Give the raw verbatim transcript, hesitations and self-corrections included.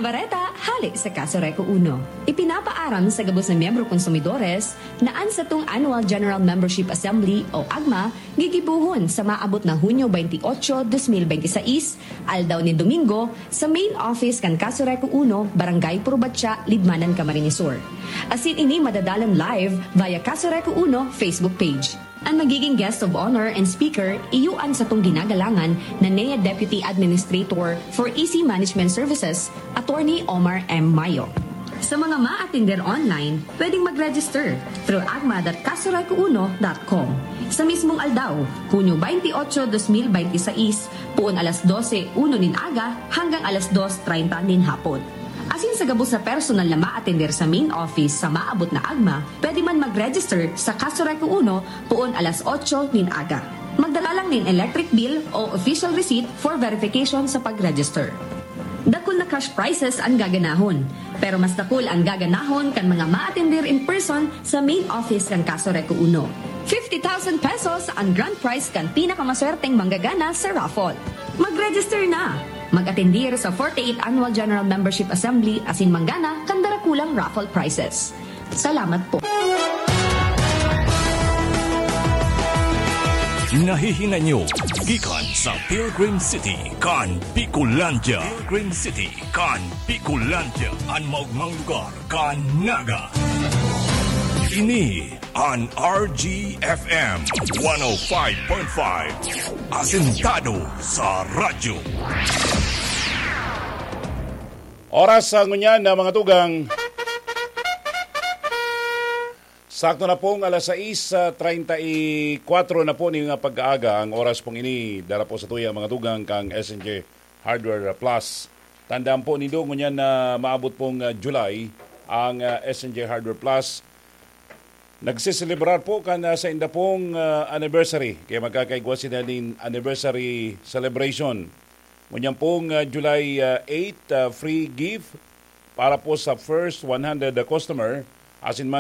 Bareta hale sa Kaso Reco Uno. Ipinapaaram sa gabos na miyembro konsumidores na an satong Annual General Membership Assembly o agma gigibohon sa maabot na Hunyo twenty-eight, twenty twenty-six, aldaw nin Domingo, sa main office kan Kaso Reco Uno, Barangay Purbatya, Libmanan, Camarines Sur. Asin ini madadalan live via Kaso Reco Uno Facebook page. Ang magiging guest of honor and speaker, iyo an satong ginagalangan na N E A Deputy Administrator for E C Management Services, Attorney Omar M. Mayo. Sa mga maatender online, pwedeng mag-register through agma dot kasoreco uno dot com. Sa mismong aldaw, Hunyo twenty-eight, twenty twenty-six, poon alas dose uno nin aga hanggang alas dos treinta nin hapon. Asin sa gabos na personal na maatender sa main office sa maabot na agma, pwede man mag-register sa Kaso Reco Uno poon alas otso nin aga. Magdala lang nin electric bill o official receipt for verification sa pag-register. Dakul na cash prizes ang gaganahon, pero mas dakul ang gaganahon kan mga maatender in person sa main office kan Kaso Reco Uno. Fifty thousand pesos ang grand prize kan pinakamaswerteng manggagana sa raffle. Mag-register na! Mag-atendir sa forty-eight Annual General Membership Assembly asin manggana kan darakulang raffle prizes. Salamat po. Nahihingan nyo gikan sa Pilgrim City kan Bicolandia. Pilgrim City kan Bicolandia, an maogmang lugar kan Naga. Ini an R G F M one oh five point five. Asentado sa radyo. Oras sa ngunyan na mga tugang. Sakto na pong alas sais, ah, treinta y cuatro na po nin mga pag-aaga. Ang oras pong ini, dara po sa tuya mga tugang kang S N J Hardware Plus. Tandaan po nindo, ngunyan na maabot pong, ah, July, ang, ah, S N J Hardware Plus. Nagsiselebrar po kan, ah, sainda pong, ah, anniversary. Kaya magkakaigwa sila nin anniversary celebration. Ngunyan pong, ah, July, ah, eight, ah, free gift para po sa first one hundred customer. Asin man